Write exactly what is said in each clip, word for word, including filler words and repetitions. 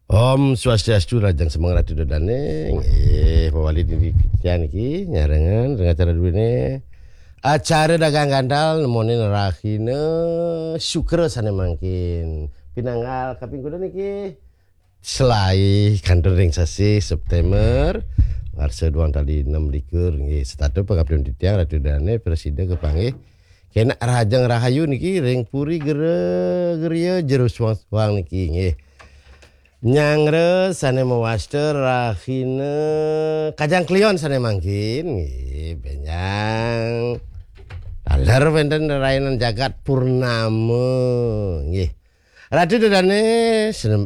Om Swastiastu, rahajeng semeng Ratu Ida Dane. Nggih, mawali niki titiang niki nyarengan ring acara duene. Acara dagang gantal nemonin rahina Sukra sane mangkin. Pinanggal kaping kuda niki selae kantun ring sasih September, warsa duang tali enam likur nggih. Setata pangaptian titiang Ratu Ida Dane prasida kapanggih. Kena rahajeng rahayu niki ring Puri Gera Geria Jero Suang-suang niki nggih. Nyanggra sane mawasta rahina Kajang Kliwon sane mangkin nggih, benjang taler wenten rainan jagat purnama nggih. Ratu Ida Dane,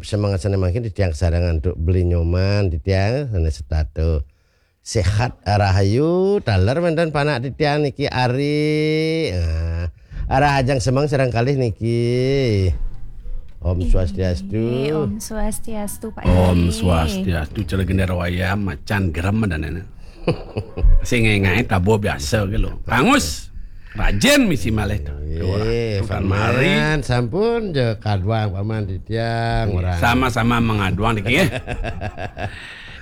semangat sane mangkin titiang kasarengan antuk Beli Nyoman titiang sane setata sehat rahayu, taler wenten panak titiang niki Ari. Nah, rahajeng semeng sareng kalih niki. Om Swastiastu. Om Swastiastu, Pak Om Swastiastu, cara gendar wayah macan gerem danene. Sing ngae tabo biasa ke lo. Angus, rajin misi malih. Nggih, Paman, sampun ja kaduang Paman titiang. Sama-sama mengaduang niki.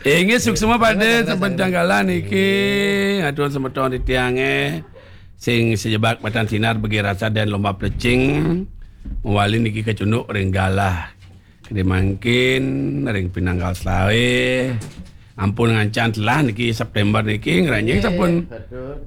Inggih, suksma pada sampun tanggalan niki. Atur semeton titiange sing sejebak matan sinar bagi rasa dan lomba plecing. Mawali niki kacunduk ring galah. Kadi mangkin ring pinanggal selae. Ampun ngancan telah niki September niki ngranjing sampun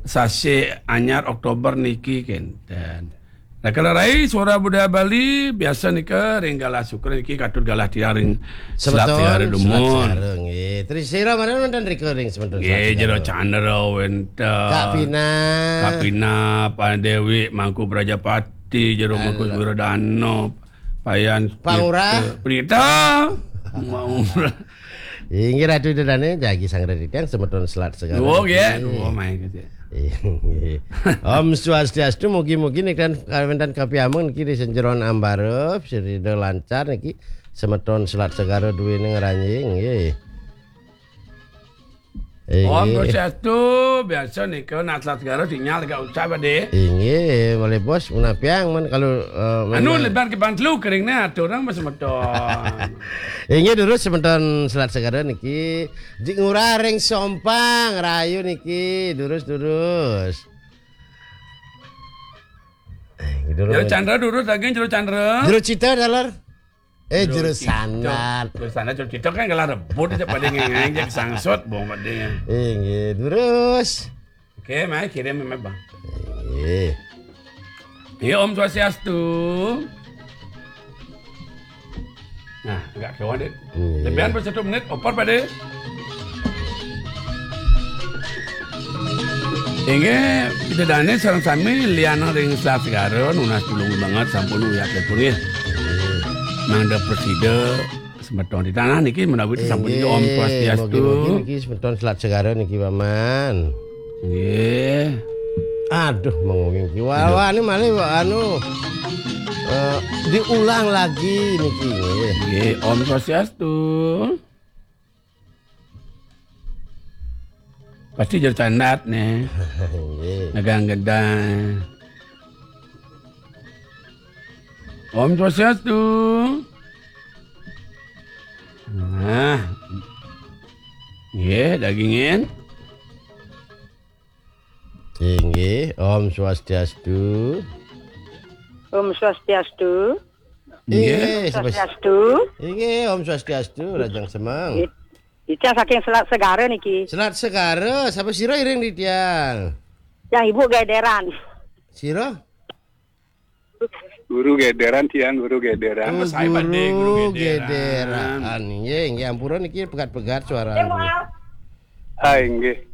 sasih anyar Oktober niki kenten. Nah, kalau rai suara budaya Bali biasa nika ring galah Sukra niki katut galah tiang ring Selat Segara Dumun. Selat Segara nggih. Tri Sira mara wonten rika ring semeton Selat Segara. Nggih, Jero Chandra wenten. Kak Pina. Kak Pina, Pak Dewi, Mangku Prajapati, Jero Mangku Wiradana, Payan Pangurah. Prita. Mau. Inggih Ratu Ida Dane, jagi sang Ratu titiang semeton Selat Segara. Oh, nggih. Oh, main gitu. Inggih. Om Swastiastu, mugi-mugi nika kawéntenan kapiameng niki ring sajeroning ambara, sida lancar niki semeton Selat Segara duwene ngranjing nggih. Inggih. Om Swastiastu, biasa nika nak Selat Segara sinyal agak usah, Pak De. Inggih, malih bos, punapiang men kalau, eh, anu, lebar ke Bangklu kering ne atur orang semeton. Inggih, durus semeton Selat Segara niki. Jik ngurah ring Sompang, rayu niki, durus-durus. Eh, gitu. Jero Chandra durus lagi, Jero Chandra. Jero Cita, taler. Eh, Jero Sanat. Jero Sanat, Jero Cita kan kalah rebut aja pada ngengeng, jadi sangsut, bong, pada. Inggih, durus. Oke, mai kirim, mai, Bang. Inggih. Iya, Om Swastiastu. Nah, agak kawan deh. Iya. Lebihan per satu menit, oper pada. Inggih, Ida Dane sareng sami liana ring Selat Segara nunas tulung banget sampun uyat pun nggih. Mangda prasida semeton di tanah niki menawi sampun niki. Om Swastiastu. Mugi-mugi niki semeton Selat Segara niki, Paman. Nggih. Aduh, mengawing ki. Wah, wah, ini malih, anu, eh, diulang lagi niki, nggih. Nggih, Om Swastiastu. Pasti Jero Sanat nih. Nggih. Nagang gedang. Om Swastiastu. Nah. Nggih, dagingin. Inggih, Om Swastiastu. Om Swastiastu. Inggih, Swastiastu. Inggih, Om Swastiastu, rahajeng semeng. Nggih. Titiang saking Selat Segara niki. Selat Segara, sapa sira iring titiang? Yang Ibu Gederan. Sira? Guru Gederan, tiang Guru Gederan. Oh, Guru Gederan. Gederan. Inggih, inggih, ampura niki pegat-pegat suarane. Ah, inggih.